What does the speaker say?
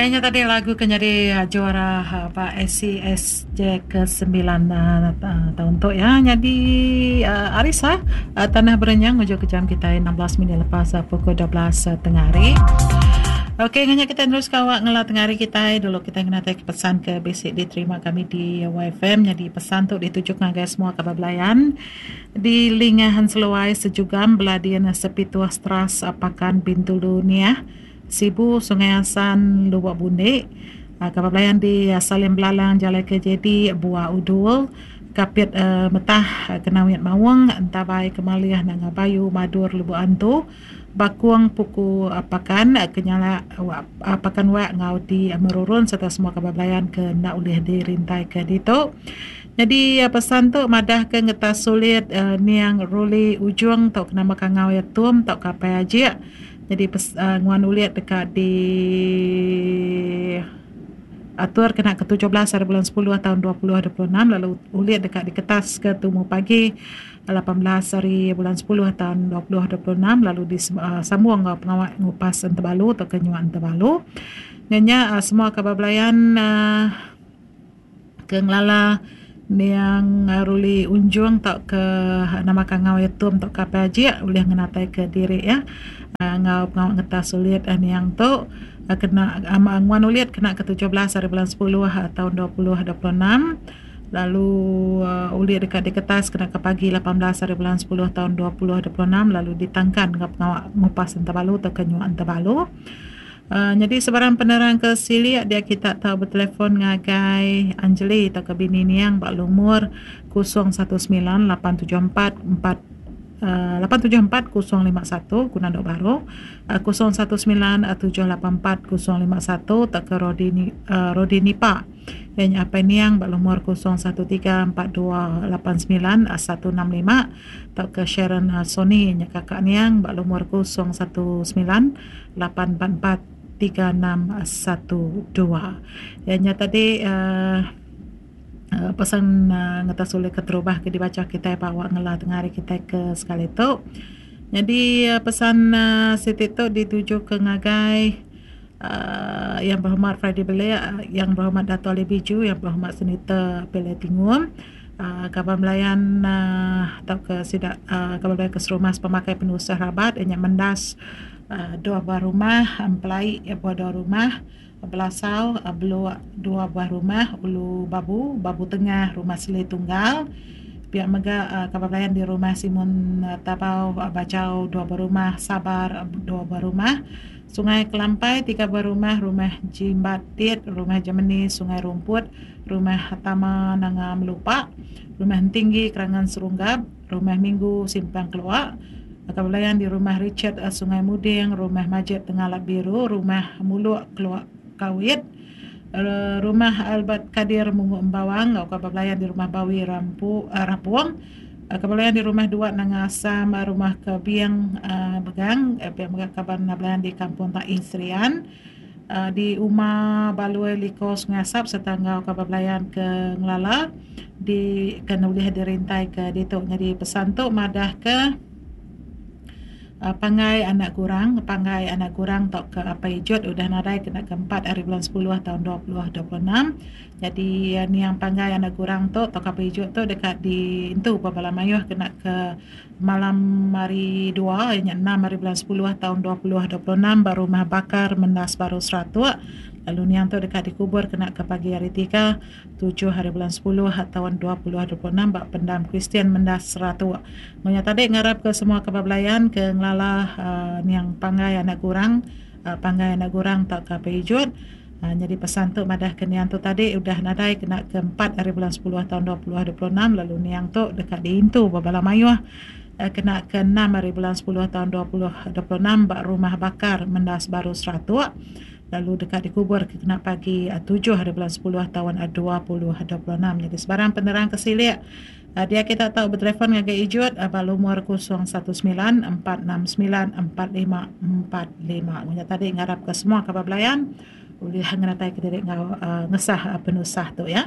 Okey nya tadi lagu ke nyadi juara ba ACSJ ke sembilan taun tu ya. Nyadi Arisa Tanah Berenyang ngujung ke jam kitai 16 minit lepas pukul 12 tengah hari. Okey nganya kitai neruska awak ngela tengah hari kitai dulu kitai ngenatai ke pesan ke bisi diterima kami di YFM nyadi pesan tu dituju ngagai semua kaban belayan di Lingah Enseluai Sejugam Beladin Sepituh Stras Pakan Bintulu Niah Sibu Sungai Asan Lubok Bundik Kaban belayan di Salim Belalang Jalai KJD Bua Udul Kapit Metah Kenawit Maung Entabai Kemalih Nanga Bayu Madur Lubok Antu Bakung puku pakan ke nyala pakan wak enggau di merurun sereta semua kaban belayan ke enda ulih dirintaika ditu. Nyadi pesan tu madahka ngetas sulit niang Ruli Ujung tauka nama kangau iya Tum tauka Apai Ajik. Nyadi nguan ulit deka di atur kena ke 17 hari bulan 10 taun 2026 lalu ulit deka diketaska tumu pagi. 18 ari bulan 10 taun 2026 lalu disambung enggau pengawa ngupas entebalu tauka nyua entebalu. Nya nya semua kaban belayan ke ngelala niang Ruli Unjung tauka nama kangau iya Tum tauka Apai Ajik ulih ngenataika diri iya enggau pengawa ngetas ulit niang tu kena nguan ulit kena ke 17 ari bulan 10 taun 2026. Lalu ulih deka diketas kena ke pagi 18 hari bulan 10 taun 2026 lalu ditangkan enggau pengawa ngupas entabalu tauka nyua entabalu. Nyadi sebarang penerang ke silik dia kita tau betelefon ngagai Anjeli tauka bini niang ba lumur 019 874 4 874 051 guna dok baru 019 784 051 tauka Rodi Rodi Nipa. Iya nya Apai Niang ba lumur 0134289165 tauka Sharon Sony nya kaka Niang ba lumur 0198443612. Iya nya tadi uhh pesan ngetas ulih keterubah ke dibacha kitai ba awak ngela tengah hari kitai ke sekali tu. Nyadi pesan siti tu ditujuka ngagai. Aaa Yang Berhormat Friday Belik, Yang Berhormat Dato Ali Biju, Yang Berhormat Senator Pillai Tingum, aaa kaban belayan aaa tauka sida aaa kaban belayan ke serumah pemakai penusah rabat iya nya Mendas aaa dua buah rumah, Empelai buah dua rumah, Belasau Beluk dua buah rumah, Ulu Babu, Babu Tengah, Rumah Seli Tunggal. Pia mega aaa kaban belayan di Rumah Simon Tabau Bajau dua buah rumah, Sabar dua buah rumah. Sungai Kelampai, tiga buah rumah, Rumah Jimbat Tit, Rumah Jemeni, Sungai Rumput, Rumah Tama Nanga Melupa, Rumah Entinggi Kerangan Serunggap, Rumah Minggu Simpang Keluak, Baka belayan di Rumah Richard Sungai Muding, Rumah Majid Tengalap Biru, Rumah Muluk Keluak Kawit, Rumah Albert Kadir Mungu Embawang enggau ka belayan di Rumah Bawi Rampu Rapung. Kebelayan di Rumah Duat Nanga Asam, Rumah Kebing Begang, pia mega kaban belayan di Kampung Taih Serian, di Uma Balui Liko Sungai Asap sereta enggau kaban belayan ke ngelala di ke ulih dirintai ke ditu. Nyadi pesan tu madah ke Pangai anak gurang, Pangai anak gurang tauka Apai Ijut udah nadai kena ke empat ari bulan 10 taun 2026. Nyadi niang panggai anak gurang tu tauka piju tu deka diintu ba bala mayuh kena ke malam hari dua iya nya enam hari bulan 10 taun 2026 ba Rumah Bakar Mendas Baru Seratok lalu niang tu deka dikubur kena ke pagi hari tiga tujuh hari bulan 10 taun 2026 ba Pendam Kristian Mendas Seratok. Meh nya tadi ngarap ke semua kaban belayan ke ngelala uhh niang panggai anak gurang panggai anak gurang tauka pijut. Nyadi pesan tu madah ke niang tu tadi udah nadai kena ke empat ari bulan 10 taun 2026 lalu niang tu deka diintu ba bala mayuh kena ke enam ari bulan 10 taun 2026 ba Rumah Bakar Mendas Baru Seratok lalu deka dikubur ke kena pagi tujuh ari bulan 10 taun 2026. Nyadi sebarang penerang ke silik dia kita tau betelefon ngagai Ijut ba lumur 019 469 4545. Mun nya tadi ngarap ke semua kaban belayan ulih ngenatai ke diri enggau ngesah penusah tu ya.